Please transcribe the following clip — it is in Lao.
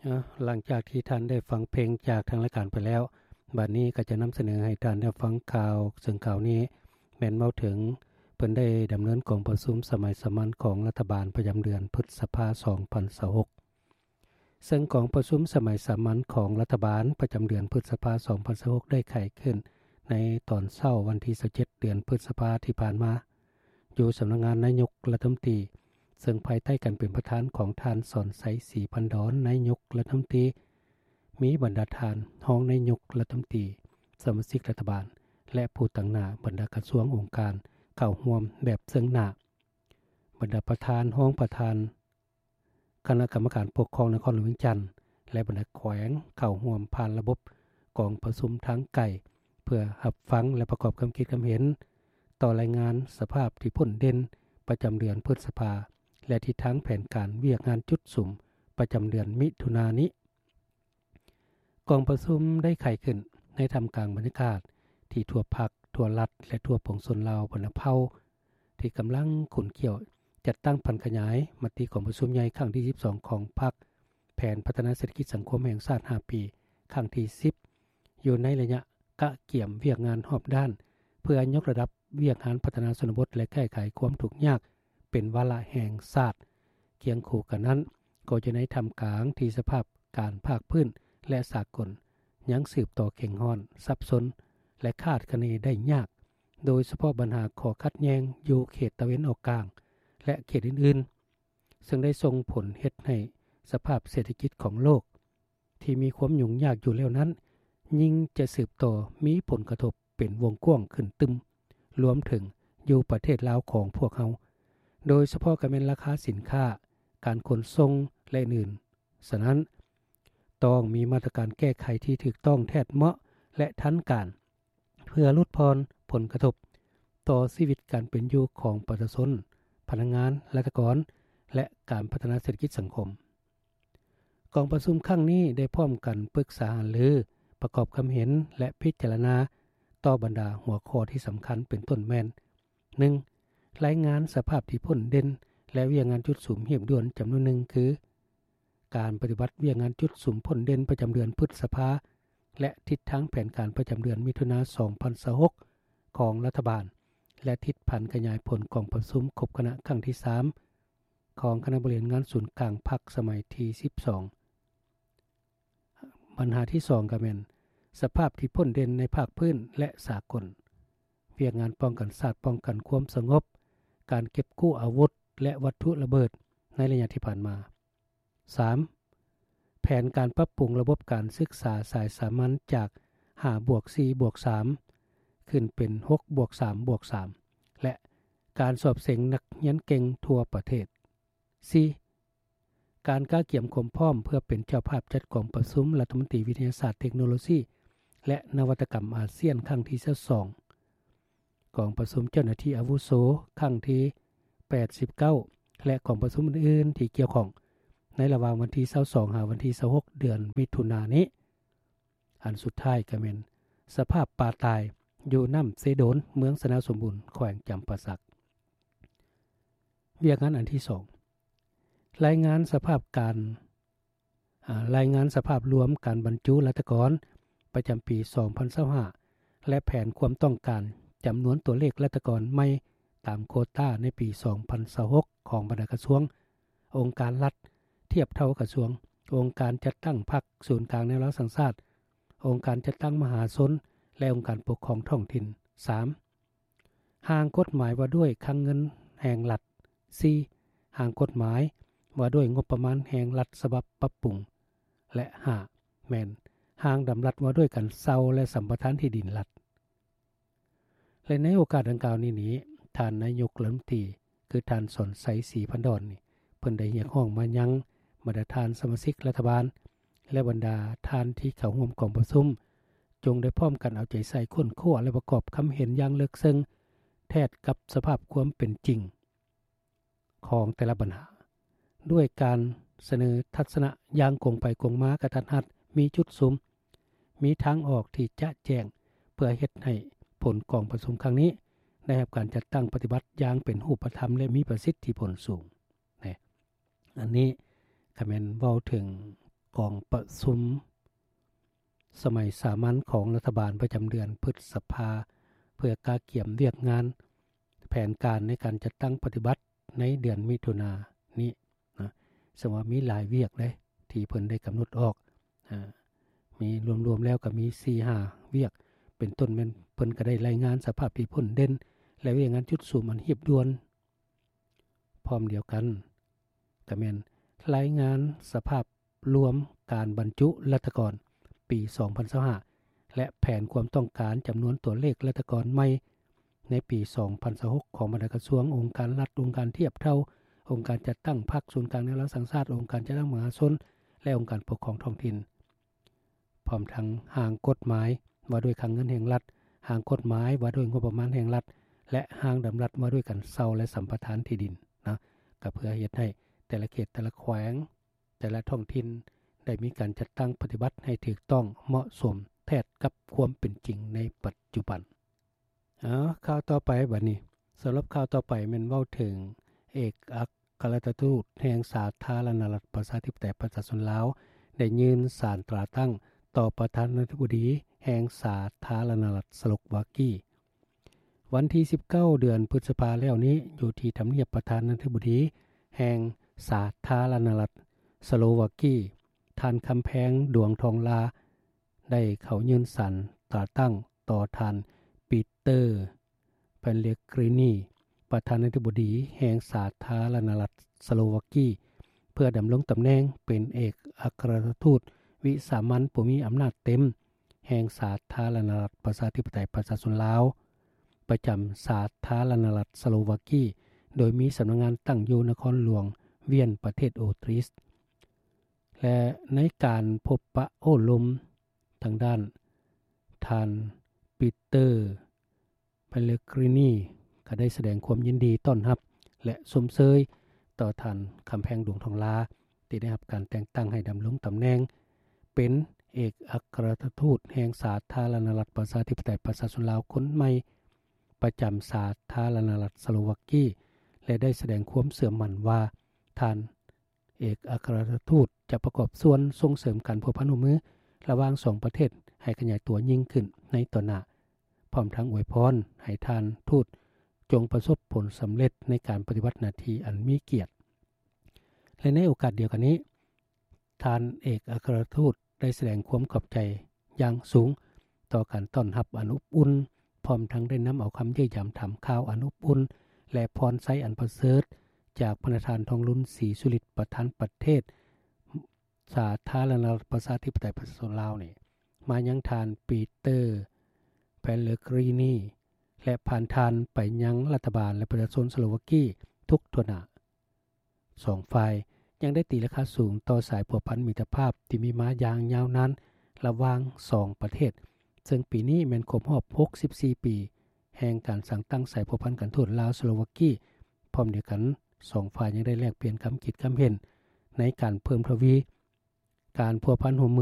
ເອີ ຫຼັງຈາກທີ່ທ່ານໄດ້ຟັງເພງຈາກທາງລາຍການໄປແລ້ວ, ບັດນີ້ກໍຈະນຳສະເໜີໃຫ້ທ່ານໄດ້ຟັງຂ່າວ, ເຊິ່ງຂ່າວນີ້ແມ່ນເວົ້າເຖິງເພິ່ນໄດ້ດຳເນີນກອງປະຊຸມສະໄໝສາມັນຂອງລັດຖະບານປະຈຳເດືອນພຶດສະພາ ສອງພັນຊາວຫົກ. ເຊິ່ງກອງປະຊຸມສະໄໝສາມັນຂອງລັດຖະບານປະຈຳເດືອນພຶດສະພາ ສອງພັນຊາວຫົກ ໄດ້ໄຂຂຶ້ນໃນຕອນເຊົ້າວັນທີ ຊາວເຈັດ ເດືອນພຶດສະພາທີ່ຜ່ານມາ ຢູ່ສຳນັກງານນາຍົກລັດຖະມົນຕີ, ເຊິ່ງພາຍໃຕ້ການເປັນປະທານຂອງທ່ານ ສອນໄຊ ສີພັນດອນ ນາຍົກລັດຖະມົນຕີ, ມີບັນດາທ່ານຮອງນາຍົກລັດຖະມົນຕີ, ສະມາຊິກລັດຖະບານ ແລະ ຜູ້ຕາງໜ້າບັນດາກະຊວງອົງການເຂົ້າຮ່ວມແບບເຊິ່ງໜ້າ. ບັນດາປະທານ, ຮອງປະທານ ຄະນະກຳມະການປົກຄອງນະຄອນຫຼວງວຽງຈັນ ແລະ ບັນດາແຂວງເຂົ້າຮ່ວມຜ່ານລະບົບກອງປະຊຸມທາງໄກ ເພື່ອຮັບຟັງ ແລະ ປະກອບຄຳຄິດຄຳເຫັນຕໍ່ລາຍງານສະພາບທີ່ພົ້ນເດັ່ນປະຈຳເດືອນພຶດສະພາ ແລະ ທິດທາງແຜນການວຽກງານຈຸດສຸມປະຈຳເດືອນມິຖຸນານີ້. ກອງປະຊຸມໄດ້ໄຂຂຶ້ນໃນທ່າມກາງບັນຍາກາດທີ່ທົ່ວພັກ, ທົ່ວລັດ ແລະ ທົ່ວປວງຊົນລາວບັນດາເຜົ່າ ທີ່ກຳລັງຂຸ້ນຂ້ຽວຈັດຕັ້ງຜັນຂະຫຍາຍມະຕິກອງປະຊຸມໃຫຍ່ຄັ້ງທີ ສິບສອງ ຂອງພັກ, ແຜນພັດທະນາເສດຖະກິດສັງຄົມແຫ່ງຊາດ ຫ້າ ປີ ຄັ້ງທີ ສິບ ຢູ່ໃນໄລຍະກະກຽມວຽກງານຮອບດ້ານ ເພື່ອຍົກລະດັບວຽກງານພັດທະນາຊົນນະບົດ ແລະ ແກ້ໄຂຄວາມທຸກຍາກເປັນວາລະແຫ່ງຊາດ. ຄຽງຄູ່ກັນນັ້ນ, ກໍຢູ່ໃນທ່າມກາງທີ່ສະພາບການພາກພື້ນ ແລະ ສາກົນຍັງສືບຕໍ່ເຄັ່ງຮ້ອນ, ສັບສົນ ແລະ ຄາດຄະເນໄດ້ຍາກ, ໂດຍສະເພາະບັນຫາຂໍ້ຂັດແຍ່ງຢູ່ເຂດຕາເວັນອອກກາງ ແລະ ເຂດອື່ນໆ, ເຊິ່ງໄດ້ສົ່ງຜົນເຮັດໃຫ້ສະພາບເສດຖະກິດຂອງໂລກທີ່ມີຄວາມຫຍຸ້ງຍາກຢູ່ແລ້ວນັ້ນ ຍິ່ງຈະສືບຕໍ່ມີຜົນກະທົບເປັນວົງກວ້າງຂຶ້ນຕື່ມ, ລວມເຖິງຢູ່ປະເທດລາວຂອງພວກເຮົາ, ໂດຍສະເພາະກໍແມ່ນລາຄາສິນຄ້າ, ການຂົນສົ່ງ ແລະ ອື່ນໆ. ສະນັ້ນ, ຕ້ອງມີມາດຕະການແກ້ໄຂທີ່ຖືກຕ້ອງແທດເໝາະ ແລະ ທັນການ ເພື່ອຫຼຸດຜ່ອນຜົນກະທົບຕໍ່ຊີວິດການເປັນຢູ່ຂອງປະຊາຊົນ, ພະນັກງານ, ລັດຖະກອນ ແລະ ການພັດທະນາເສດຖະກິດສັງຄົມ. ກອງປະຊຸມຄັ້ງນີ້ໄດ້ພ້ອມກັນປຶກສາຫາລື, ປະກອບຄຳເຫັນ ແລະ ພິຈາລະນາຕໍ່ບັນດາຫົວຂໍ້ທີ່ສຳຄັນ ເປັນຕົ້ນແມ່ນ ໜຶ່ງ ລາຍງານສະພາບທີ່ພົ້ນເດັ່ນ ແລະ ວຽກງານຈຸດສຸມຮີບດ່ວນຈຳນວນໜຶ່ງ ຄື ການປະຕິບັດວຽກງານຈຸດສຸມພົ້ນເດັ່ນປະຈຳເດືອນພຶດສະພາ ແລະ ທິດທາງແຜນການປະຈຳເດືອນມິຖຸນາ ສອງພັນຊາວຫົກ ຂອງລັດຖະບານ ແລະ ທິດຜັນຂະຫຍາຍຜົນກອງປະຊຸມຄົບຄະນະຄັ້ງທີ ສາມ ຂອງຄະນະບໍລິຫານງານສູນກາງພັກສະໄໝທີ ສິບສອງ. ບັນຫາທີ ສອງ ກໍແມ່ນສະພາບທີ່ພົ້ນເດັ່ນໃນພາກພື້ນ ແລະ ສາກົນ, ວຽກງານປ້ອງກັນຊາດ, ປ້ອງກັນຄວາມສະຫງົບ, ການເກັບກູ້ອາວຸດ ແລະ ວັດຖຸລະເບີດໃນໄລຍະທີ່ຜ່ານມາ. ສາມ ແຜນການປັບປຸງລະບົບການສຶກສາສາຍສາມັນຈາກ ຫ້າບວກສີ່ບວກສາມ ຂຶ້ນເປັນ ຫົກບວກສາມບວກສາມ ແລະ ການສອບເສັງນັກຮຽນເກັ່ງທົ່ວປະເທດ. ສີ່ ການກະກຽມຄວາມພ້ອມເພື່ອເປັນເຈົ້າພາບຈັດກອງປະຊຸມລັດຖະມົນຕີວິທະຍາສາດ, ເຕັກໂນໂລຊີ ແລະ ນະວັດຕະກຳອາຊຽນຄັ້ງທີ ຊາວສອງ. ກອງປະຊຸມເຈົ້າໜ້າທີ່ອາວຸໂສຄັ້ງທີ ແປດສິບເກົ້າ ແລະ ກອງປະຊຸມອື່ນໆທີ່ກ່ຽວຂ້ອງ ໃນລະຫວ່າງວັນທີ ຊາວສອງ ຫາວັນທີ ຊາວຫົກ ເດືອນມິຖຸນານີ້. ອັນສຸດທ້າຍກໍແມ່ນສະພາບປາຕາຍຢູ່ນ້ຳເຊໂດນ ເມືອງຊະນະສົມບູນ ແຂວງຈຳປາສັກ. ວຽກງານອັນທີ ສອງ ລາຍງານສະພາບການ ອາ ລາຍງານສະພາບລວມການບັນຈຸລັດຖະກອນປະຈຳປີ ສອງພັນຊາວຫ້າ ແລະ ແຜນຄວາມຕ້ອງການຈຳນວນຕົວເລກລັດຖະກອນໃໝ່ຕາມໂຄຕ້າໃນປີ ສອງພັນຊາວຫົກ ຂອງບັນດາກະຊວງ, ອົງການລັດທຽບເທົ່າກະຊວງ, ອົງການຈັດຕັ້ງພັກ, ສູນກາງແນວລາວສ້າງຊາດ, ອົງການຈັດຕັ້ງມະຫາຊົນ ແລະ ອົງການປົກຄອງທ້ອງຖິ່ນ. ສາມ ຮ່າງກົດໝາຍວ່າດ້ວຍຄັງເງິນແຫ່ງລັດ. ສີ່ ຮ່າງກົດໝາຍວ່າດ້ວຍງົບປະມານແຫ່ງລັດສະບັບປັບປຸງ ແລະ ຫ້າ ແມ່ນຮ່າງດຳລັດວ່າດ້ວຍການເຊົ່າ ແລະ ສຳປະທານທີ່ດິນລັດ. ແລະ ໃນໂອກາດດັ່ງກ່າວນີ້ນີ້ ທ່ານນາຍົກລັດຖະມົນຕີ ຄືທ່ານ ສອນໄຊ ສີພັນດອນ ນີ້ ເພິ່ນໄດ້ຮຽກຮ້ອງມາຍັງບັນດາທ່ານສະມາຊິກລັດຖະບານ ແລະ ບັນດາທ່ານທີ່ເຂົ້າຮ່ວມກອງປະຊຸມ ຈົ່ງໄດ້ພ້ອມກັນເອົາໃຈໃສ່ຄົ້ນຄວ້າ ແລະ ປະກອບຄຳເຫັນຢ່າງເລິກເຊິ່ງ ແທດກັບສະພາບຄວາມເປັນຈິງຂອງແຕ່ລະບັນຫາ ດ້ວຍການສະເໜີທັດສະນະຢ່າງກົງໄປກົງມາ, ກະທັດຮັດ, ມີຈຸດສຸມ, ມີທາງອອກທີ່ຈະແຈ້ງ ເພື່ອເຮັດໃຫ້ຜົນກອງປະຊຸມຄັ້ງນີ້ ໄດ້ຮັບການຈັດຕັ້ງປະຕິບັດຢ່າງເປັນຮູບປະທຳ ແລະ ມີປະສິດທິຜົນສູງ. ແນ ອັນນີ້ກໍແມ່ນເວົ້າເຖິງ ກອງປະຊຸມສະໄໝສາມັນຂອງລັດຖະບານປະຈຳເດືອນພຶດສະພາ ເພື່ອກະກຽມວຽກງານແຜນການໃນການຈັດຕັ້ງປະຕິບັດໃນເດືອນມິຖຸນານີ້ນະ ເຊິ່ງວ່າມີຫຼາຍວຽກເດ້ທີ່ເພິ່ນໄດ້ກຳນົດອອກ ອາ ມີລວມໆແລ້ວກໍມີສີ່ຫ້າວຽກ ເປັນຕົ້ນແມ່ນເພິ່ນກໍໄດ້ລາຍງານສະພາບທີ່ພົ້ນເດັ່ນ ແລະ ວຽກງານຈຸດສຸມອັນຮີບດ່ວນ. ພ້ອມດຽວກັນ ກໍແມ່ນລາຍງານສະພາບລວມການບັນຈຸລັດຖະກອນປີສອງພັນຊາວຫ້າ ແລະ ແຜນຄວາມຕ້ອງການຈຳນວນຕົວເລກລັດຖະກອນໃໝ່ໃນປີສອງພັນຊາວຫົກ ຂອງບັນດາກະຊວງ, ອົງການລັດ, ອົງການທຽບເທົ່າ, ອົງການຈັດຕັ້ງພັກ, ສູນກາງແນວລາວສ້າງຊາດ, ອົງການຈັດຕັ້ງມະຫາຊົນ ແລະ ອົງການປົກຄອງທ້ອງຖິ່ນ. ພ້ອມທັງຮ່າງກົດໝາຍວ່າດ້ວຍຄັງເງິນແຫ່ງລັດ, ຮ່າງກົດໝາຍວ່າດ້ວຍງົບປະມານແຫ່ງລັດ ແລະ ຮ່າງດຳລັດວ່າດ້ວຍການເຊົ່າ ແລະ ສຳປະທານທີ່ດິນນະ ກໍເພື່ອເຮັດໃຫ້ແຕ່ລະເຂດ, ແຕ່ລະແຂວງ, ແຕ່ລະທ້ອງຖິ່ນໄດ້ມີການຈັດຕັ້ງປະຕິບັດໃຫ້ຖືກຕ້ອງເໝາະສົມແທດກັບຄວາມເປັນຈິງໃນປັດຈຸບັນ. ເອົາ ຂ່າວຕໍ່ໄປບັດນີ້. ສຳລັບຂ່າວຕໍ່ໄປແມ່ນເວົ້າເຖິງເອກອັກຄະລັດຖະທູດແຫ່ງສາທາລະນະລັດປະຊາທິປະໄຕປະຊາຊົນລາວ ໄດ້ຍື່ນສານຕາຕັ້ງຕໍ່ປະທານາທິບໍດີແຫ່ງສາທາລະນະລັດສະໂລວາກີ. ວັນທີສິບເກົ້າ ເດືອນພຶດສະພາແລ້ວນີ້ ຢູ່ທີ່ທຳນຽບປະທານາທິບໍດີແຫ່ງສາທາລະນະລັດສະໂລວາກີ, ທ່ານ ຄຳແພງ ດວງທອງລາ ໄດ້ເຂົ້າຍື່ນສານຕາຕັ້ງຕໍ່ທ່ານ ປີເຕີ ເປເລກຣີນີ ປະທານາທິບໍດີແຫ່ງສາທາລະນະລັດສະໂລວາກີ ເພື່ອດຳລົງຕຳແໜ່ງເປັນເອກອັກຄະລັດຖະທູດວິສາມັນຜູ້ມີອຳນາດເຕັມແຫ່ງສາທາລະນະລັດປະຊາທິປະໄຕປະຊາຊົນລາວ ປະຈຳສາທາລະນະລັດສະໂລວາກີ ໂດຍມີສຳນັກງານຕັ້ງຢູ່ນະຄອນຫຼວງວຽນ ປະເທດອົດຣິສ. ແລະ ໃນການພົບປະໂອ້ລົມທາງດ້ານ ທ່ານ ປີເຕີ ເປເລກຣີນີ ກໍໄດ້ສະແດງຄວາມຍິນດີຕ້ອນຮັບ ແລະ ຊົມເຊີຍຕໍ່ທ່ານ ຄຳແພງ ດວງທອງລາ ທີ່ໄດ້ຮັບການແຕ່ງຕັ້ງໃຫ້ດຳລົງຕຳແໜ່ງເປັນເອກອັກຄະລັດຖະທູດແຫ່ງສາທາລະນະລັດປະຊາທິປະໄຕປະຊາຊົນລາວຄົນໃໝ່ ປະຈຳສາທາລະນະລັດສະໂລວາກີ ແລະ ໄດ້ສະແດງຄວາມເຊື່ອໝັ້ນວ່າ ທ່ານເອກອັກຄະລັດຖະທູດຈະປະກອບສ່ວນສົ່ງເສີມການພົວພັນຮ່ວມມືລະຫວ່າງສອງປະເທດໃຫ້ຂະຫຍາຍຕົວຍິ່ງຂຶ້ນໃນຕໍ່ໜ້າ, ພ້ອມທັງອວຍພອນໃຫ້ທ່ານທູດຈົ່ງປະສົບຜົນສຳເລັດໃນການປະຕິບັດໜ້າທີ່ອັນມີກຽດ. ແລະ ໃນໂອກາດດຽວກັນນີ້, ທ່ານເອກອັກຄະລັດຖະທູດ ໄດ້ສະແດງຄວາມຂອບໃຈຢ່າງສູງຕໍ່ການຕ້ອນຮັບອັນອົບອຸ່ນ, ພ້ອມທັງໄດ້ນຳເອົາຄຳຢ້ຽມຢາມຖາມຂ່າວອັນອົບອຸ່ນ ແລະ ພອນໄຊອັນປະເສີດ ຈາກພະນະທ່ານ ທອງລຸນ ສີສຸລິດ ປະທານປະເທດສາທາລະນະລັດປະຊາທິປະໄຕປະຊາຊົນລາວນີ້ ມາຍັງທ່ານ ປີເຕີ ເປເລກຣີນີ ແລະ ຜ່ານທ່ານໄປຍັງລັດຖະບານ ແລະ ປະຊາຊົນສະໂລວາກີທຸກທົ່ວໜ້າ. ສອງຝ່າຍຍັງໄດ້ຕີລາຄາສູງຕໍ່ສາຍພົວພັນມິດຕະພາບທີ່ມີມາຢ່າງຍາວນານລະຫວ່າງສອງປະເທດ, ເຊິ່ງປີນີ້ແມ່ນຄົບຮອບຫົກສິບສີ່ປີແຫ່ງການສ້າງຕັ້ງສາຍພົວພັນການທູດລາວ-ສະໂລວາກີ. ພ້ອມດຽວກັນ, ສອງຝ່າຍຍັງໄດ້ແລກປ່ຽນຄຳຄິດຄຳເຫັນໃນການເພີ່ມທະວີການພົວພັນຮ່ວມມື